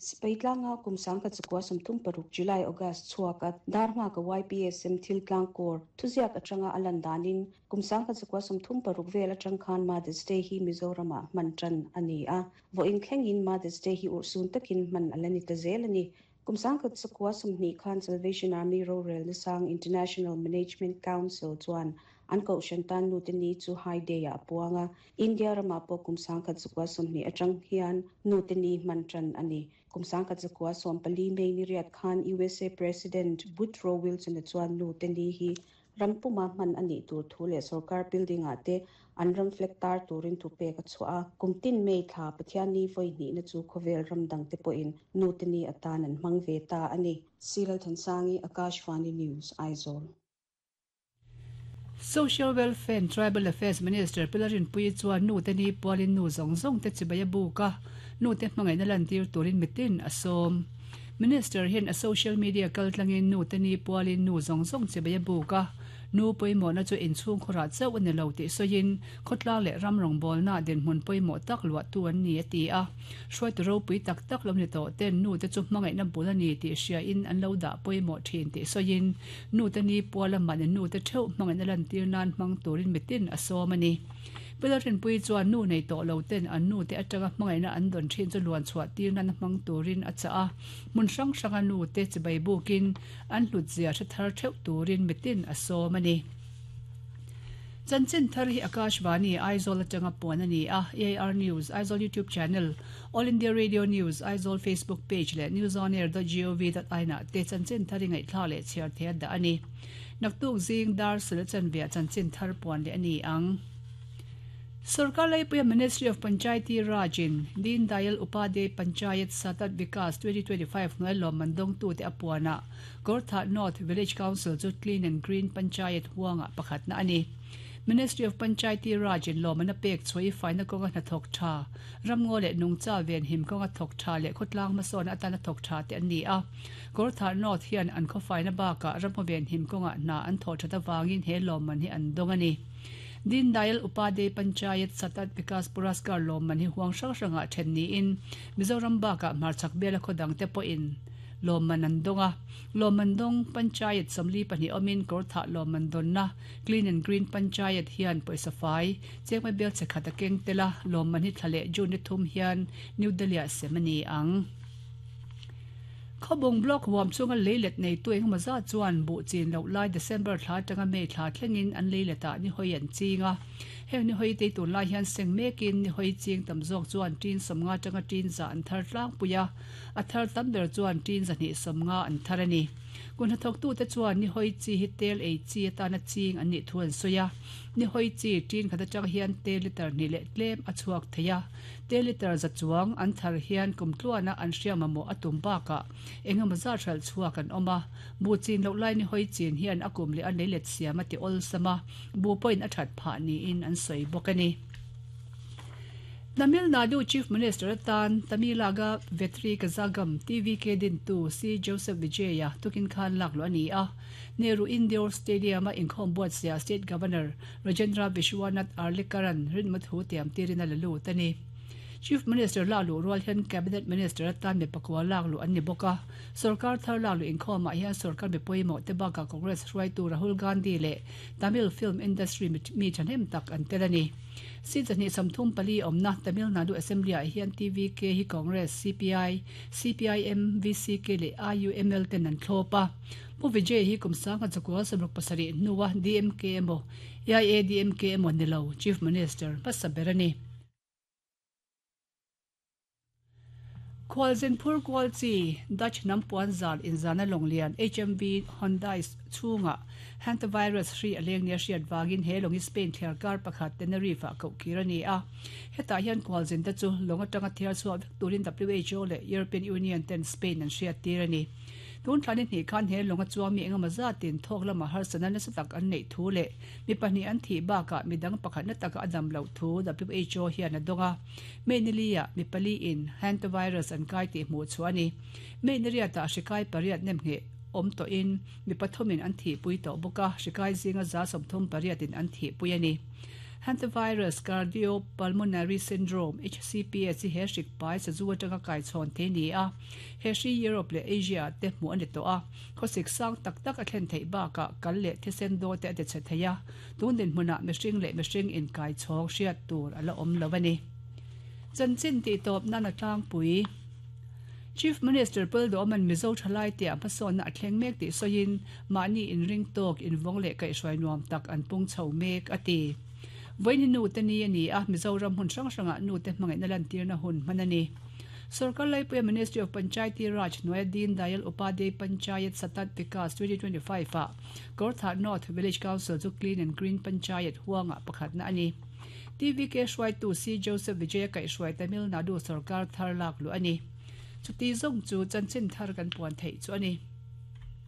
Sipai tlanga kum 1936 July August chhuaka dar nghaka YPSM thil tlang kawr thuziak atanga a lan danin kum 1936 vel atang khan Mother's Day hi Mizoramah hman tan a ni a. Vawiin thlengin Mother's Day hi urhsun takin hman a la ni ta zel a ni. Kum 1920 khan Salvation Army rorelna sang International Management Council chuan an kohhran tan nute ni chu High Day-ah a puang a. India ramah pawh kum 1920 atang hian nute ni hman tan a ni. Kum 1914 May ni riat khan USA President Woodrow Wilson-a chuan nute ni hi ram puma hman a nih tur thu leh sorkar building-ah te an ram flag tar turin thu pek a chhuah a. Kum tin May thla Pathian ni vawi hnihna chu khawvel ram dangte pawhin nute ni atan an hmang ve ta a ni. Silalthansangi, Akashvani News, Aizawl. Social Welfare and Tribal Affairs Minister Pi Lalrinpuii chuan nute ni pualin nu zawng zawng te chibai a buk a, nute hmangaihna lantir turin mitin a sawm. Minister hian a social media kaltlangin nute ni pualin nu zawng zawng chibai a buk a, nu pawimawhna chu inchhungkhawrah chauh a ni lo tih sawiin khawtlang leh ram rawngbawlnaah dinhmun pawimawh tak luahtu an ni a ti a. Hruaitu ropui tak tak lo ni tawh ten nute chu hmangaihna bul a ni tih hriain an lo dah pawimawh thin tih sawiin nute ni puala mahni nute theuh hmangaihna lantir nan hmang turin mitin a sawm a ni. Pilar Rinpuii chuan nu nei tawh lo ten an nute atanga hmangaihna an dawn thin chu luan chhuah tir nana hmang turin a chah a, hmun hrang hranga nute chibai bukin an hlut zia hre thar theuh turin mitin a sawm a ni. Chanchin thar hi Akashvani, Aizawl atanga puan a ni a, AIR News, Aizawl YouTube Channel, All India Radio News, Aizawl Facebook Page leh newsonair.gov.in ah te chanchin thar i ngaihthlak leh chhiar thei a dah a ni. Naktuk zing dar sel chanveah chanchin thar puan leh a ni ang. Sorkar Laipuia Ministry of Panchayati Raj in Deen Dayal Upadhyay Panchayat Satat Vikas 2025 hnuai lawmman dawngtute a puanah Gortha North Village Council chu Clean and Green Panchayat huangah pakhatna a ni. Ministry of Panchayati Raj in lawmman a pek chhuah i faina kawnga hnathawk tha, ramngaw leh nungcha venhim kawnga thawk tha leh khawtlang hmasawnna atana thawk tha te an ni a. Gortha North hian an khawfaina bakah ramngaw venhim kawngah hna an thawh that avangin he lawmman hi an dawng a ni. Deen Dayal Upadhyay Panchayat Satat Vikas Puraskar lawmman hi huang hrang hrangah then niin Mizoram bakah hmarchhak biala khaw dangte pawhin lawmman an dawng a. Lawmman dawng Panchayat 42 awmin Kawrthah lawmman dawnna Clean and Green Panchayat hian pawisa fai chengmai bel che khat a keng tel a, lawmman hi thla leh June ni thum hian New Delhi-ah sem a ni ang. Khawbung Block huam chhunga leilet neitu engemaw zat chuan buh chin loh lai December thla atanga May thla thlengin an leiletah nihawi an ching a. Heng nihawi te tunlai hian seng mekin nihawi ching tam zawk chuan tin 50 atanga tin za an thar tlangpui a, a thar tam ber chuan tin 250 an thar a ni. Kun hnathawktute chuan nihawi chi hi tel ei chi atana ching an nih thu an sawi a. Nihawi chi tin khat atang hian tel litre hnih leh tlem a chhuak thei a. Te litre za chuang an thar hian kum tluana an hria mamawh a tum bakah eng emaw zat hralh chhuak an awm a, buh chin loh lai ni hawi chin hian a kum leh a lei let siam a ti awlsam a, buh pawhin a that phah niin an sawi bawk a ni. Tamil Nadu Chief Minister atan Tamilaga Vetri Kazhagam, TVK, dintu C Joseph Vijay-a tukin khan lak luh a ni a, Nehru Indoor Stadium-a inkhawm buatsaihah State Governor Rajendra Vishwanath Arlekaran rinma thu tiam tirin a la lut a ni. Chief Minister lak luh rual hian Cabinet Minister atan mi pakua lak luh an ni bawk a. Sorkar thar lak luh inkhawmah hian sorkar mi pawimawh te bakah Congress hruaitu Rahul Gandhi leh Tamil film industry mi thahnem tak an tel a ni. Seat 234 awmna Tamil Nadu Assembly-ah hian TVK hi Congress, CPI, CPIM, VCK leh IUML ten an thlawp a. Pu Vijay hi kum 1967 hnua DMK emaw AIADMK emaw ni lo Chief Minister hmasa ber a ni. Khualzin phur kual chi Dutch hnam puan zal inzana lawng lian HMV Hondius chhungah hantavirus hri a leng nia hriat vangin he lawng hi Spain thliarkar pakhat Tenerife-ah koh kir a ni a. Hetah hian khualzin te chu lawng atanga thiar chhuah vek turin WHO leh European Union ten Spain an hriattir a ni. Tun thla ni hnih khan he lawng a chuang mi engemaw zatin thawk lama harsatna nasa tak an neih thu leh mi pahnih an thih bakah mi dang pakhatna taka a dam loh thu WHO hian a dawng a. May ni liah mi pali in hantavirus an kai tih hmuh chhuah a ni. May ni riatah hri kai pariat nem ngheh awm tawhin mi pathumin an thihpui tawh bawk a, hri kai zinga 38 in an thihpui a ni. Hantavirus Cardiopulmonary Syndrome, HCPS, hi he hrik pai sazu atanga kai chhawn thei a ni a, he hri Europe leh Asia ah te hmuh a ni tawh a, khawsik sang tak tak a thlen theih bakah kal leh thisen daw te a ti chhe thei a, tun dinhmunah mihring leh mihring inkai chhawng hriat tur a la awm lo a ni. Chanchin tihtawp nan a tlangpui. Chief Minister Paldawman Mizo thalai tia hmasawnna a thleng mek tih sawiin mahni inring tawk invawng leh kaihhruai nuam tak an pung chho mek a ti. Vawiin nu te ni a ni a, Mizoram hmun hrang hrangah nu te hmangaihna lantirna hun hman a ni. Sorkar Laipuia Ministry of Panchayati Raj hnuaia Deen Dayal Upadhyay Panchayat Satat Vikas 2025 ah Kawrthah North Village Council chu Clean and Green Panchayat huangah pakhatna a ni. TVK hruaitu C Joseph Vijaya kaihhruai Tamil Nadu sorkar thar lak luh a ni. Chuti zawng chu chanchin thar kan puan theih chu a ni.